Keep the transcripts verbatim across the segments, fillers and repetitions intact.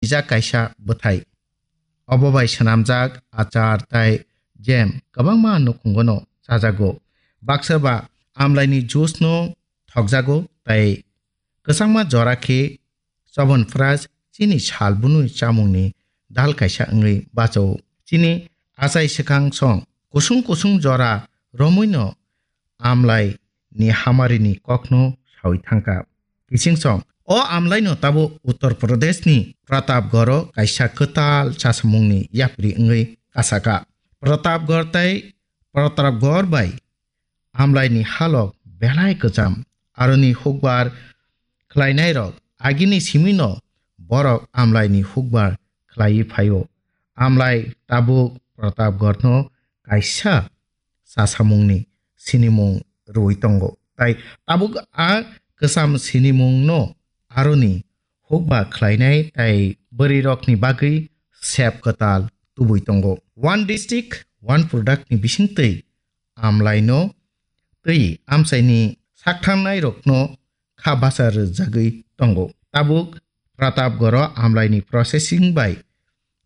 jak kaisa bwthai. Obo bai swnamjak achar tai jam kwbangma nukhungono chajago. Baksa ba amlaini juice no thokjago tai kwchangma jora khe Chobon Pras chini sal bunui chamungni dal kaisa wngwi bachao. Chini achai swkang song kusung kusung jora romwino amlai ni hamari ni kokno sawi thangkha. Kiching song, o amlai no tabuk Uttar Pradesh ni Pratapgarh o kaisa kwtal chasamung ni yapri wngwi kasaka. Pratapgarh tai Pratapgarh bai amlai ni halok belai kwcham, aroni hukbar khlainai rok agini simi no borok amlai ni hukbar khlaiwi phaio. Amlai tabuk Pratapgarh no kaisa chasamungni sinimung rwui tongo. Tai tabuk a kwcham sinimungno aroni hukba khlainai tai bwrwirokni bagwi sep kwtal tubui tongo. One district, one product ni bisingtwi amlaino twi amchaini saktharnairokno kha bacha rwjagwi tongo. Tabuk Pratapgarh o amlaini processing bai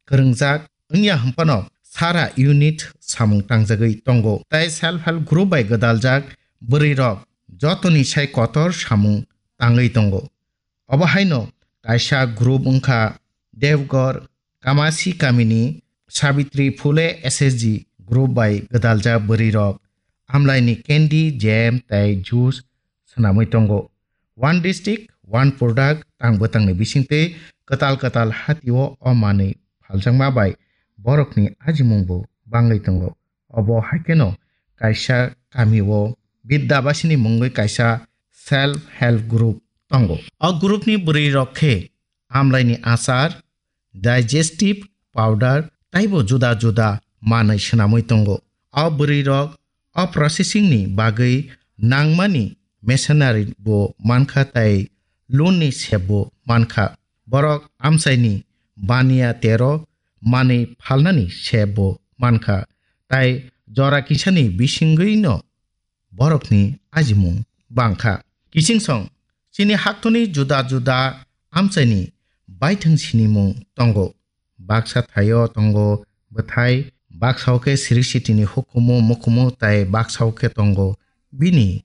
kwrwngjak wngya hwnphano sara unit samung tangjagwi tongo, tei self help group bai gwdaljak bwrwirok jotoni sai kotor samung tangwi tongo. Obo haino kaisa group wngkha Devgarh Kamasi kamini Sabitri Phule S S G group bai gwdaljak bwrwirok amlaini candy, jam tei juice swnamwi tongo. One district, one product tang bwtangni bisingtwi kwtal kwtal hatio o manwi phaljakma bai borokni ajimungbo bangwi tongo. Obo haikheno kaisa kamio Bidyabasini mungwi kaisa self help group tongo. O groupni bwrwirok khe amlaini achar, digestive powder taibo juda juda manwi swnamwi tongo. O bwrwirok o processing ni bagwi nangmani machinery bo mankha tai loan ni sep bo mankha. Borok amchaini baniya tero manwi phalnani sep bo mankha, tai jora kisani bisingwino borokni ajimung bangkha. Kiching song, chini haktorni juda juda amchaini baithang sinimung tongo. Baksa thaio tongo bwthai, baksa o khe siri sitini hukumu mukumu tai baksa o khe tongo bini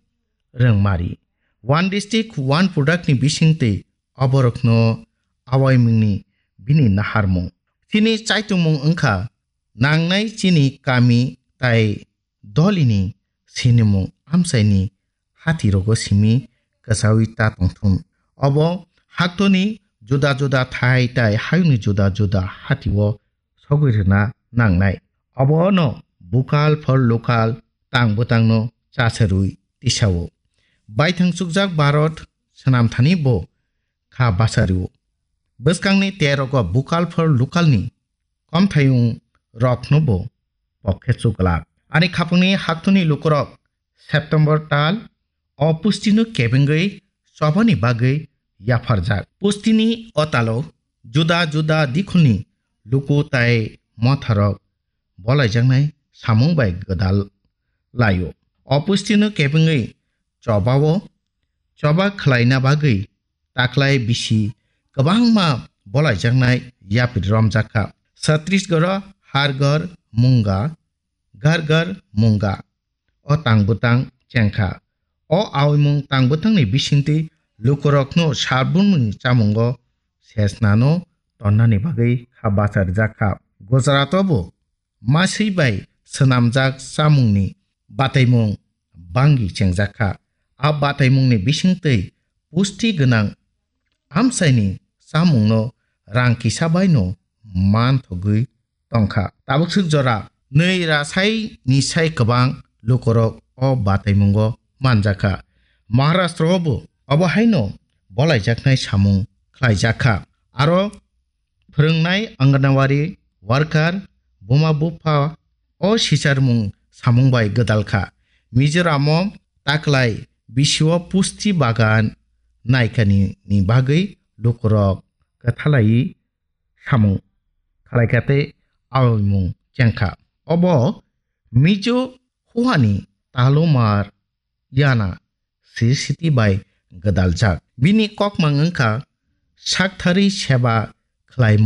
rwngmari. One district, one product ni bisingtwi oborokno awaimungni bini naharmung. Chini chaitungmung wngkha nangnai chini kami tai dolini sinimung amchaini hatirogo simi kwchaui ta tongthun. Obo haktorni juda juda thai tai hayungni juda juda hatio sogwi rwna nangnai. Obono bukal for lokal tang bwtangno chasarwi tisao. Baithang chukjak Bharat swnamthani bo kha bachario. Bwskangni terogo bukal for lokalni komthayung rokno bo pokhe chuklak. Ani khapangni haktorni lukurok September tal o pustino kebengwi chobani bagwi yapharjak. Pustini o talo juda juda dikhulni luku tai motharok bolaijaknai samung bai gwdal laio. O pustino kebengwi chobao choba khlaina bagwi taklai bisi kwbangma bolaijaknai yapri romjakha. Chhattisgarh o Har Ghar Munga, Ghar Ghar Munga o tang bwtang chengkha. O aoimung tang bwtangni bisingtwi lukurokno salbumni chamungo sesnano tonnani bagwi kha bacha rwjakha. Gujarat o bo maswi bai swnamjak chamungni bataimung bangwi chengjakha. A bataimungni bisingtwi pusti gwnang amchaini chamungno rang kisa baino manthogwi tongkha. Tabukswk jora nwi rasai ni sai kwbang lukurok o bataimungo manjakha. Maharashtra o bo obo haino bolaijaknai samung khlaijakha. Aro phwrwngnai Anganwadi worker, buma bupha o sicharmung samung bai gwdal kha. Mizoram o taklai bisio pusti bagan naikani ni bagwi lukurok kwthalai samung khlaikha tei aoimung chengkha. Obo Mizo huani talumar yana sisiti bai gwdaljak. Bini kokmang wngkha sakthari seba khlaimung.